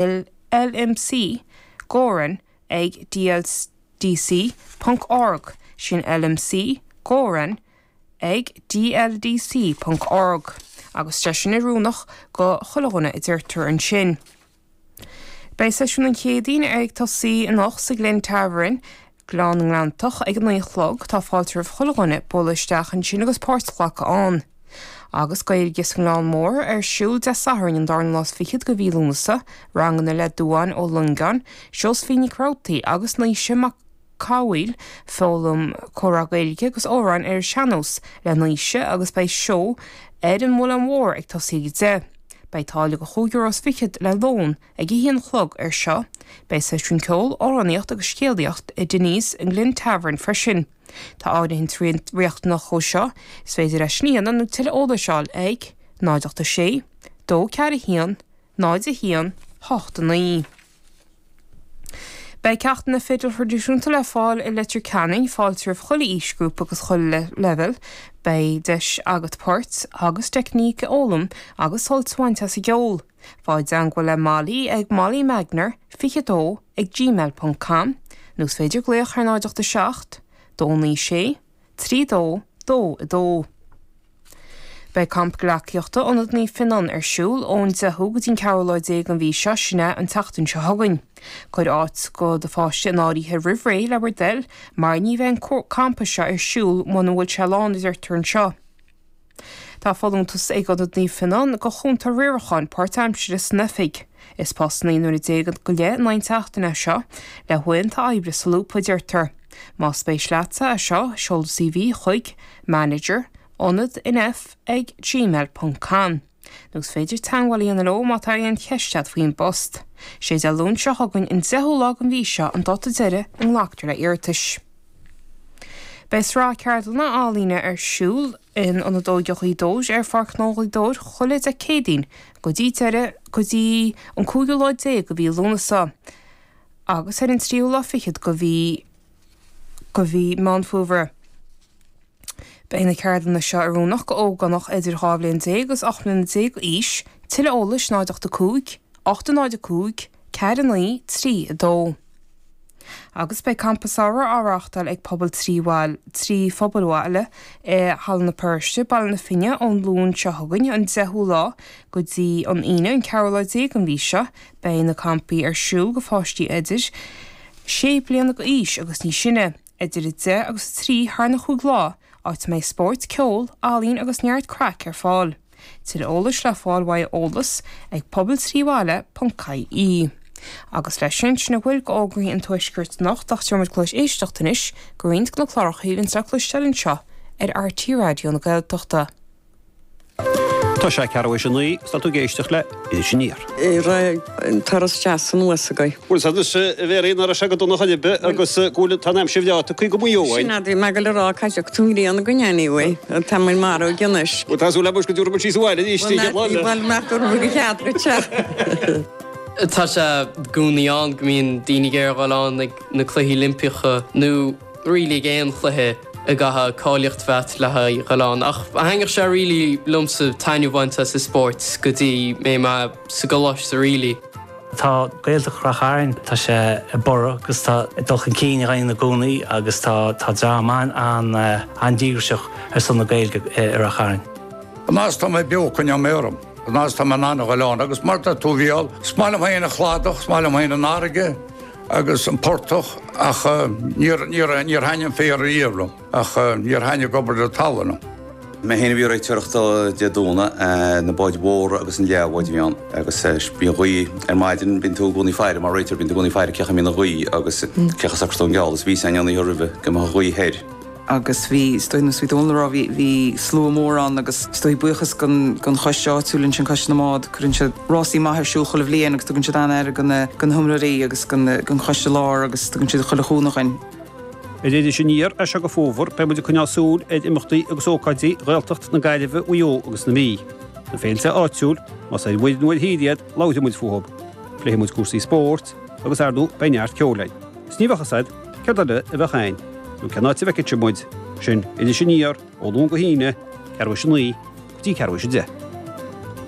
LMC Gowran ag DLDC ponc org, sin LMC Gowran ag DLDC ponc org, agus tá sin oiriúnach go chuile dhuine a deirtear ansin. Beidh seisiún an Chéadaoin ag tosaí anocht sa Glen Tavern, Gleann na nGleanntach, ag a 9 a chlog. Tá fáilte roimh chuile dhuine bualadh isteach ansin agus páirt a ghlacadh ann. Agus Gaeilge sa nGleann Mór ar siúl Dé Sathairn an darna lá is fichead de mhí Lúnasa, ranganna le Dubhán Ó Longáin, Seosaimhín Nic Robhtaí agus Naoise Mac Cathmhaoil, foghlaim comhrá Gaeilge agus amhráin ar an sean-nós le Naoise agus beidh seó ar an Mhuileann Mhór ag tosaí ag 10. Beidh táille de chúig euro is fichead le lón ag a haon a chlog air seo. Beidh seisiún ceoil, amhránaíocht agus scéalaíocht i Denny's an Glen Tavern freisin. Tá áirithint riachtanach dhó seo, is féidir é sin a dhéanamh nó tuilleadh eolais a fháil ag, 0 8 6 2 4 1 0 1 8 9. Beidh ceachtanna fidil thraidisiúnta le fáil i Leitir Ceanainn, fáilte roimh chuile aoisghrúpa agus chuile leibhéal. Beidh deis agat poirt agus teicníc a fhoghlaim agus sult a bhaint as an gceol. Faigh i dteangmháil le Molly ag mollymagner 22 ag gmail ponc com nó is féidir glaoch ar 0 8 7 2 9 6 3 2 2 2. Beidh Campa Gleacaíochta Ionad Naomh Fionnán ar siúl ón 10ú go dtí an ceathrú lá déag den mhí seo, sin é an tseachtain seo chugainn. Cuir áit go do pháiste in áirithe roimh ré le bhur dtoil mar ní bheidh an campa seo ar siúl muna bhfuil sé lán a deirtear anseo. Tá folúntas ag Ionad Naomh Fionnán go chúntóir riaracháin páirtaimsire san oifig. Is post 19 nuaire go leith in aghaidh na seachtaine é seo, le huaireanta oibre solúbtha a deirtear. Más spéis leatsa é seo, seol do CV chuig, manager, ionad nf ag gmail ponc com. Nó is féidir teagmháil a dhéanamh leo má tá aon cheist agat faoin bpost. Sé Dé Luain seo chugainn an 10ú lá den mhí seo an dáta deiridh a nglactar le iarratais. Beidh sraith ceardlanna ealaíne ar siúl in Ionad Óige Ghaoth Dobhair ar Pháirc Ghnó Ghaoth Dobhair chuile Dé Céadaoin go dtí deireadh go dtí an cúigiú lá déag de mhí Lúnasa agus ar an tríú lá fichead de mhí de mhí Meán Fómhair. Beidh na ceardlanna seo oiriúnach go ógánach idir 12 bhliain agus 18 mbliana d'aois. Tuilleadh eolais 0 8 5 8 0 5 4 9 3 2. Agus beidh Campa Samhraidh á reáchtáil ag Pobal 3 Bhaile, 3 Phobal Bhaile i Halla na Paróiste, Baile na Finne ón Luan seo chugainn, an 10ú lá, go dtí an Aoine, an ceathrú lá déag den mhí seo. Beidh na campaí ar siúl go pháistí idir 6 bliana d'aois agus níos sine. Idir 10 agus 3 thar na chúig lá, áit a mbeidh spórt, ceol, ealaín agus neart craic ar fáil. Tuilleadh eolais le fáil uaidh eolas ag pobaltríbhaile.ie. Agus leis sin, sin a bhfuil d'fhógraí an Tuaiscirt anocht ach tabharfaidh muid cluas éisteachta anois go roinnt de na cláracha a bhíonns le cloisteáil anseo ar RTÉ Raidió na Gaeltachta. Tá sé ceathrú théis a naoi, is tá tú ag éisteacht le Iris Aniar. Raibh an turas deas anuas agaibh. Bhuel, anois, a Mhéirí, nach raibh sé go dona chor ar bith agus go bhfuil, tá an aimsir bhreá tagtha go Maigh Eo Sin é, bhí mé ag dul a rá, caithfidh tú an ghrian againn anyway, tá muid marbh anois. Bhuel, tá súil agam go dtabharfaidh muid síos abhaile arís an chéad lá eile. Bhuel, nach dtabharfaidh go cead dhuit-se. Tá sé i gcónaí ann go mbíonn daoine ag iarraidh a dhul ann ag na Cluichí Oilimpeacha nó really ag aon chluiche a gcaithfidh cáilíocht a bheith agat le haghaidh dhul ann. Ach thaitneodh sé really liomsa taitneamh a bhaint as an spórt go dtí mé mé sa gcoláiste really. Tá Gaeltacht Rath Chairn, tá sé ag borradh agus tá ag dul chun cinn againn i gcónaí agus tá tá dream an-an-díograiseach ar son na Gaeilge i Rath Chairn. An fhad is tá mé beo coinneoidh mé orm. An fhad is tá mé in ann a ghoil ann agus mar a deir tú a Mhícheál, is maith liom féin an cladach, is maith liom féin an fharraige. agus an portach ach níor níor thaitnigh an féar riamh liom ach níor thaitnigh ag obair ar an talamh liom. Mé féin a bhí ag réiteoireacht Dé Domhnaigh, na báid mhóra agus an leathbháid a bhí ann agus bhí an ghaoth ar maidin, bíonn tú i gcónaí ag faire mar réiteoir, bíonn tú i gcónaí ag faire cén chaoi a mbíonn an ghaoth agus cén chaoi a socróidh tú an geall agus bhí a fhios againn an oíche roimhe go mbeadh an ghaoth thoir. agus bhí, is dóigh, nós bhí Dónal a rá, bhí, bhí slua mór ann agus is dóigh buíochas gon, gon choiste áitiúil ansin, Coiste na mBád, cuireann siad rásaí maith ar siúl chuile bhliain agus tugann siad an-aire go na, go na hiomaitheoirí agus gon, gon choiste lár agus tugann siad chuile chúnamh dhuinn. Ar Iris Aniar as seo go fómhar, beidh muid ag coinneáil súil ar imeachtaí agus ócáidí Ghaeltacht na Gaillimhe, Mhaigh Eo agus na Mí. Na féilte áitiúil, más ar mhuir nó ar thír iad, labharfaidh muid fúthu. Pléifidh muid cúrsaí spóirt agus, ar ndóigh, beidh neart ceoil againn. Is ní bheadh fhios a'd céard eile a bheadh a'inn, nó cén áit a bhfeicfidh sibh muid, sin Iris Aniar ó Luan go hAoine, ceathrú théis a 9 go dtí ceathrú théis a 10.